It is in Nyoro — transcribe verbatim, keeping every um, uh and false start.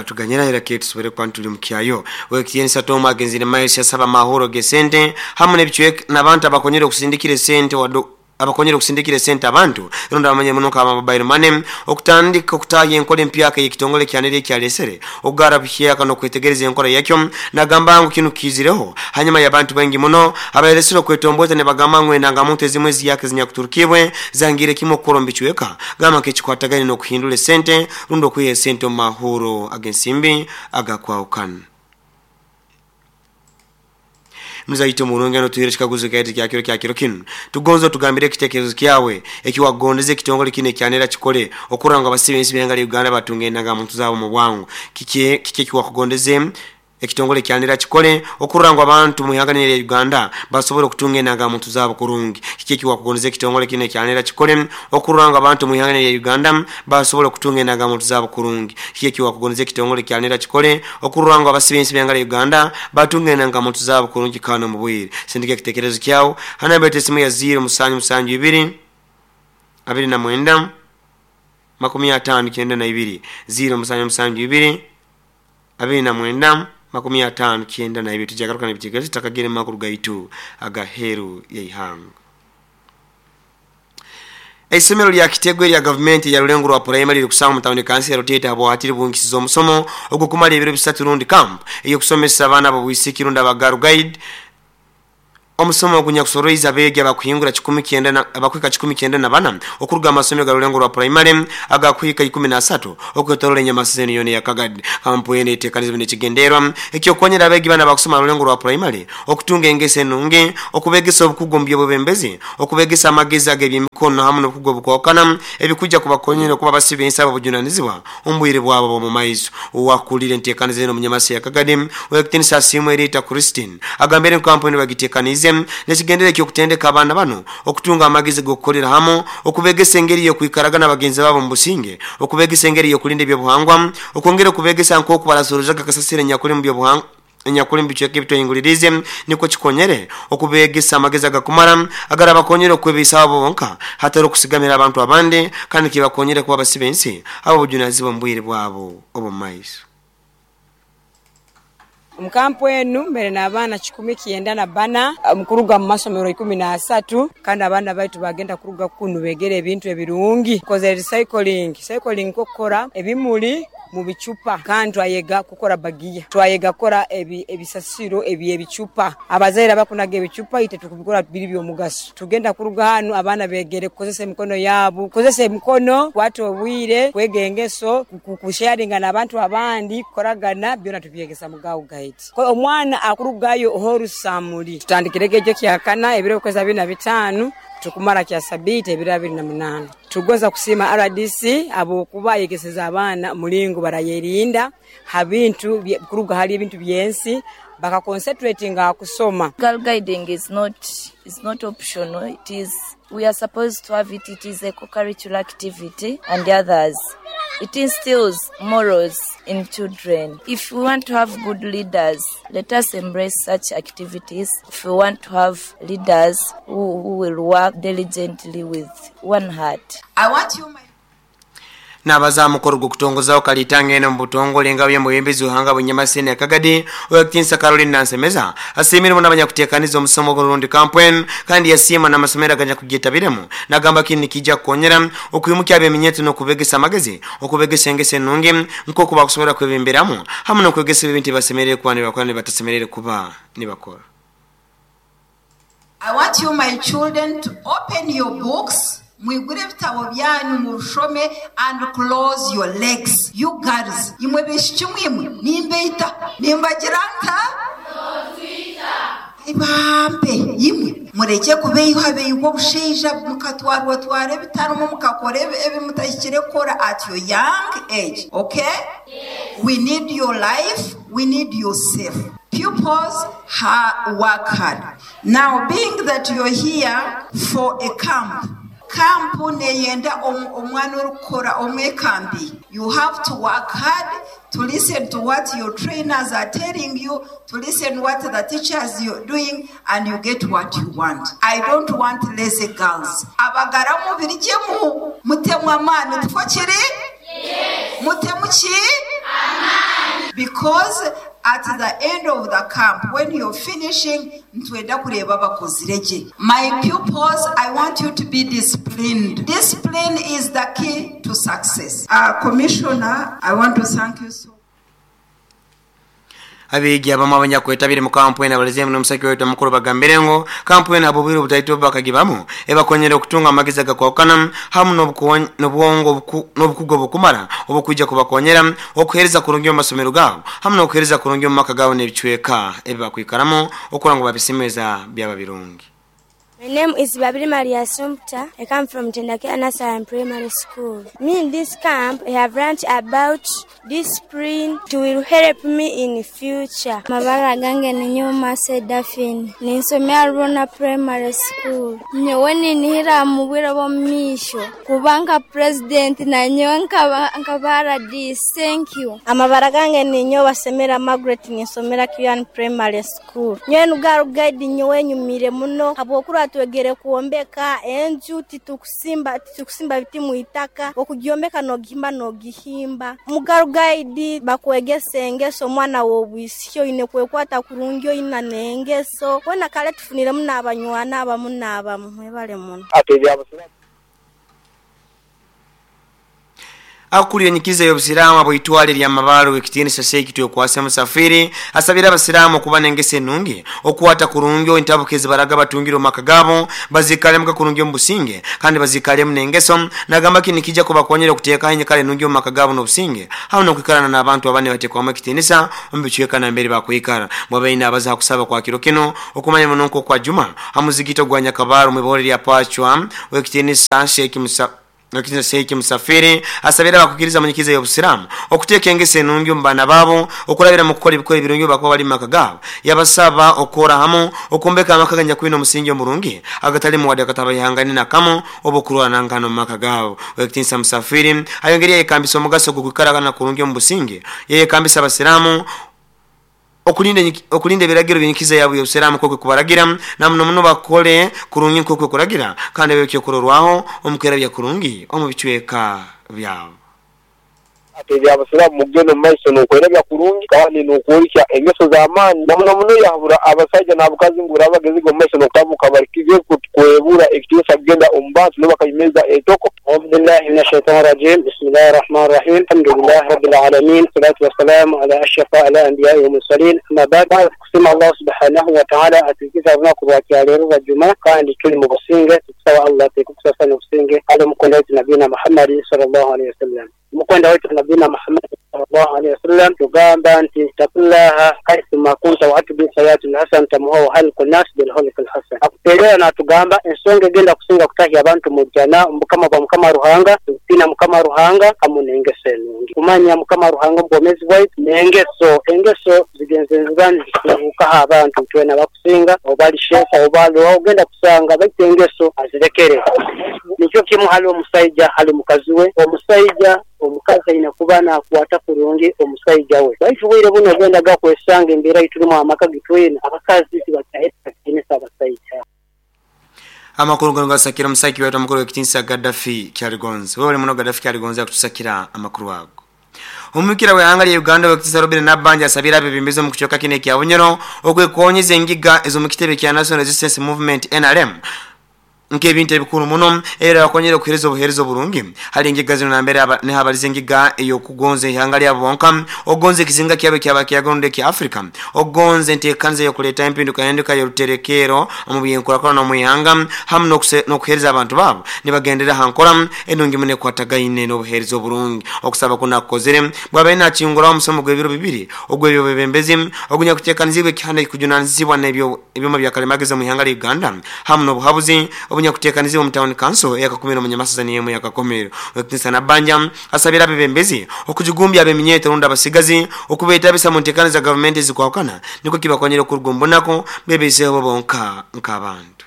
Tuganyira era ke tusobole kuba tuli mukyayo. Wekitiinisa Tom agenzire maiso yasaba amahoro gesente hamwe n'ebicweka n'abantu abakonyere okusindikira esente wadde abakonyere okusindikira esente abantu rundi abamanye muno nka mobile money okutandika okutaaha enkola empyaka y'ekitongole kyanere ekyalesere okugara buhyaka n'okwetegereza enkola yakyo. Nagamba ngu kinu kiizireho hanyuma y'abantu baingi muno abayeresire okwetomboza ne bagamba ngu endangamuntu ezimwe eziyaka ezinyakuturukibwe zangire kimwe okukora omu bicweka gamba nk'ekikwatagane n'okuhindura esente rundi okwiha esente omu mahuro ag'ensimbi agakwahukana. Mzaito murungi ano tuhere chikaguzo kya kya kiro kya kiro kinu tugonzo tugambire ekitekerezo kyawe ekiwagondeze ekitongole kine kyanera kikole okuranga abasibe ensi byenga Uganda batunge endangamuntu zaabo mu bwangu. Kiki kiki kiwakugondeze ekitongole kyanera kikole okurangwa abantu mu ihanga lya Uganda basobole okutunga endangamuntu zaabo kurungi. Kiki kiwakugondeze ekitongole kine kyanera kikole okurangwa abantu mu ihanga lya Uganda basobole okutunga endangamuntu zaabo kurungi. Kiki kiwakugondeze ekitongole kyanera kikole okurangwa abasibe ensi byenga Uganda batunga endangamuntu zaabo kurungi kana mu bwire. Sindika ekitekerezo kyawo hanamba esimu ya zero musanju musanju ibiri abiri na mwenda makumi atano kyenda na ibiri zero musanju musanju ibiri abiri na mwenda makumi atano kyenda na ibiri. Tujagaruka n'ebitekerezo takagere makuru gaitu agaheru y'eihanga. Eisomero lya Kitegwe lya gavumenti ya Rulengo rwa primary likusanga mu tawuni kansi ya Rutete habwatiri bungisiza omusomo ogukumala ebiro bisatu rundi camp ey'okusomesa abaana b'obwisiki rundi abagaru guide. Omusomo ogunyakusoroiza abeegi abakuhingura kikumi kyenda na abakwika kikumi kyenda na bana okuruga amasomero ga Rulengo rwa primary agakwika ikumi na asatu okwetorola enyamasizeni yona ya Kagadi. Kampu eno eteekanizibwa n'ekigendererwa eky'okukonyera abeegi bana abakusoma Rulengo rwa primary okutunga engeso enungi, okubegesa obukugu mu by'obwebembezi, okubegesa amagezi ag'ebyemikono hamu n'obukugu obukwawukana ebikujja kubakonyera okuba abasibe ensi ab'obujunanizibwa omu bwire bwabo bw'omu maiso. Owakulira enteekaniza eno omunyamasi ya Kagadi ow'ekitiinisa Asiimwe Rita Christine agambire ngu kampu eno bagiteekaniize nekigendere eky'okutendeka abaana bano okutunga amagezi g'okukolera hamu, okubegesa engeri y'okwikaraga n'abagenzi baabo mu businge, okubegesa engeri y'okulinda ebyobuhangwa, okwongera okubegesa nk'oku barasorozaga kasasiro enyakuli mu byobuhangwa enyakuli mu bicweka ebitwehingulirize nikwo kikonyere okubegesa amagezi agakumara agarabakonyere okwebiisaho bo bonka hatari okusigamira abantu abandi kandi kibakonyere kuba abasibe ensi ab'obujunanizibwa mu bwire bwabo obw'omu maiso. Omukampu enu mbere n'abaana kikumi kyenda na bana mukuruga mu masomero ikumi na asatu kandi abaana baitu bagenda kuruga kunu begere ebintu ebirungi. Tukozere recycling, recycling kokukora ebimuli mu bicupa kandi twayega kukora bagiya, twayega kukora ebi, ebisasiro ebyebicupa. Abazaire abakunaga ebicupa ite tukubikora biri by'omugaso. Tugenda kuruga hanu abaana begere kukozesa emikono yaabo, kukozesa emikono kwata obwire, kwega engeso, kusharinga n'abantu abandi, kukoragana byona tubyegesa mu Girl Guide. Omwana akurugayo horusamuli tutandikirege ekyo kyakana ebiro kweza bina bitano tukumara kya sabiti ebiro abiri na munana. Tugonza kusima R D C abokuba yegeseza abaana mulingo barayerinda ha bintu kuruga hali ebintu byensi baka concentrating kusoma. Girl guiding is not is not optional. It is, we are supposed to have it. It is a co-curricular activity and the others. It instills morals in children. If we want to have good leaders, let us embrace such activities. If we want to have leaders who, who will work diligently with one heart. I want you, my N'abaza mukoro gw'okutongozaho kalitanga eno mu butongole nga by'omuyembezi w'ihanga Bunyamasene ya Kagadi ow'ekitiinisa Caroline Nansemeza asiimire muno abanyakuteekaniza omusomo gw'orundi kampwen kandi yasiima n'amasomero aganyakugetabiremu nagamba kinu nikijja kukonyera okwimukia ab'eminyeto n'okubegesa amagezi, okubegesa engeso enungi nk'oku bakusobola kwebemberamu hamu n'okwegesa ebintu ebibasemereire kuba nibakora nibatasemereire kuba nibakora. I want you, my children, to open your books, mwigure ebitabo byanyu mushome, and close your legs. You girls, imwe bishiki imwe nimbeita nimbagira nta ibambe imwe mureke kubeyiha beyigwa obusheija mukatwarwa twara ebitarumo mukakora ebi mutahikire kukora at your young age. Okay? Yes. We need your life, we need your safe. Pupils ha work hard. Now, being that you're here for a camp, kampu neyenda omwana orikukora omwekambi. You have to work hard to listen to what your trainers are telling you, to listen what the teachers you're doing, and you get what you want. I don't want lazy girls. Abagaramu birigemu mutemu amaani tuko kiri? Yes. Mutemu ki? Amaani. Because at the end of the camp, when you're finishing, ntwenda kureba bakozire gye. My pupils, I want you to be disciplined. Discipline is the key to success. Uh, Commissioner, I want to thank you so Abegi abamu abanyakwetabire mu kampu ena baleze muno omusaki wetu omukuru bagambire ngo kampu ena abobwire obutaito bakagibamu ebakonyera okutunga amagezi agakwawukana hamu n'obwongo n'obukugu obukumara obukwija kubakonyera okuhereza kurungi omu masomero gaabo hamu n'okuhereza kurungi omu maka gaabo n'ebicweka ebibakwikaramu okura ngu babisimeza byaba birungi. My name is Babiri Maria Sumpta. I come from Tendakea Nursery and Primary School. Me in this camp, I have learned about discipline. It will help me in the future. Mabara gange ni nyuma Sedafin. Ninsomea Rona Primary School. Nyowe ninihira mu bwire bw'omumaisho kubanga president na nyowe nkaba R D. Thank you. Amabara gange ni nyowe Semera Margaret, ninsomera Kian Primary School. Nyowe nugaru guide nyowe nyumire muno habwokura twegere kuombeka enju titukusimba titukusimba biti muitaka okugyombeka nogihimba nogihimba mugaru guide bakwegese engeso mwana wobwisyo ine kwekwata kurungi ina nengeso wona kale tufunire muna abanywana abamu n'abamu mwebale muno. Akuli enyikiza y'obusiraamu abwitwale lya mabalo ekitiinisa Sheikh Twekwase Musafiri asabira abasiraamu okuba n'engese ennungi okukwata kurungi entabuka ezibaraga batungire omu maka gaabo bazikalemu kurungi omu businge kandi bazikalemu n'engeso nagamba kini kijja kubakonyera okuteekaho enyikara ennungi omu maka gaabo n'obusinge hamu n'okwikarana n'abantu abandi bateekwamu ekitiinisa omu bicweka nambere bakwikara. Bwabaine abaza kusaba kwa kiro kino okumanya muno nk'okwa Juma hamuzigito gwa Nyakabaro mwibore lya Pachwa w'ekitiinisa Sheikh Musa Nakina Sheikh Musafiri asabira abakukiriza munyikiza y'obusiraamu okuteeka engese ennungi mu baana baabo okulabira mu kukola ebikolo ebirungi bakuba bali mu maka gaabo yabasaba okukora hamu okumbeka amaka ganyakwina omusingi omurungi agatali muwadde akatabayihangane nakamu oba okulwanangana mu maka gaabo. W'ekitiinisa Musafiri ayongereye yekambisa omugaso gw'okwikaragana kurungi omu businge yeyekambisa abasiraamu okulinda okulinda ebiragiro by'enyikiza yabwe y'obusiraamu kwe kubaragira na muno muno bakole kurungi nk'okwe kuragira kandi ebyo kurorwaho omukwera bya kurungi omu bicweka byabo. Ate abasiraamu mugendo mu maiso n'okwerabya kurungi kandi n'okworeka engeso z'amaani na muno muno yahabura abasajja n'abakazi ngu barabagezi omu maiso n'okutabuka barikize kwebura ekitiinisa kugenda omu bantu n'obakayimeza etoko. أعوذ بالله من الشيطان الرجيم. بسم الله الرحمن الرحيم. الحمد لله رب العالمين، والصلاة والسلام على أشرف الأنبياء والمرسلين. أما بعد، kusima Allah subhanahu wa ta'ala atukiza runaku rwa rwa Juma kandi tuli mu businge tukusaba Allah tukusasa n'obusinge ali mukwenda wetu Nabina Muhammad sallallahu alaihi wasallam. Mukwenda wetu Nabina Muhammad sallallahu alaihi wasallam tugamba nti taqullaha haithu kunta wa atbi sayatul hasan tamuhu halqun nas bil hulqil hasan. Akuterera natugamba ensonga egenda kusinga kutahya abantu mu jana mukama bwa mukama Ruhanga tutina mukama Ruhanga hamu n'engeso ennungi. Kumanya mukama Ruhanga obwomezi bwaitu n'engeso engeso zigenze zibani zikukaha abantu twena bakusinga obali shefa obali ogenda kusanga baitu engeso azirekere. Nikyo kimu hali omusajja hali mukazi we omusajja omukazi ayina kuba nakwata kurungi omusajja we. Baitu bwire buno ogenda gakwesanga embeera iturimu amaka gitwina abakazi tibataheta kitinisa abasajja. Amakuru gano gasakira omusaki wetu amakuru w'ekitiinisa Gaddafi Kyaligonza. Wewe muno Gaddafi Kyaligonza akutusakira amakuru ago. Omukira w'ehanga lya Uganda w'ekitiinisa Robert Nabanja asabira abebembezi omu kucoka kino ekya Bunyoro okwekonyeza engiga ez'omu kitebe kya National Resistance Movement N R M nk'ebintu ebikuru muno era bakonyera okuhereza obuhereza oburungi. Hali engiga zino nambere nehabaliza engiga ey'okugonza ihanga lyabo bonka ogonza ekizinga kyabo kyaba kyagonde kya Africa ogonza enteekaniza ey'okuleeta empinduka enduka y'oruterekero omu byenkulaakulana omu ihanga hamu n'okuhereza abantu baabo nibagendera ha nkora enungi muno ekwatagaine n'obuhereza oburungi. Okusaba kuno akukozere bwabaire nakinguraho omusomo gw'ebiro bibiri ogw'ebyobwebembezi ogunyakuteekanizibwa ekihanda ekikujunanizibwa n'ebyoma bya kalimagezi omu ihanga lya Uganda hamu n'obuhabuzi obunya kuteekanizibwa mu town council eyakakumiro mu Nyamasaza n'emu yakakomero. W'ekitiinisa Nabanja asabira abebembezi okujigumbya ab'eminyeeto rundi abasigazi okubeetabisa mu nteekaniza gavumenti ezikwawukana nikwo kibakonyera okuruga omu bunako beebeiseho bonka nk'abantu.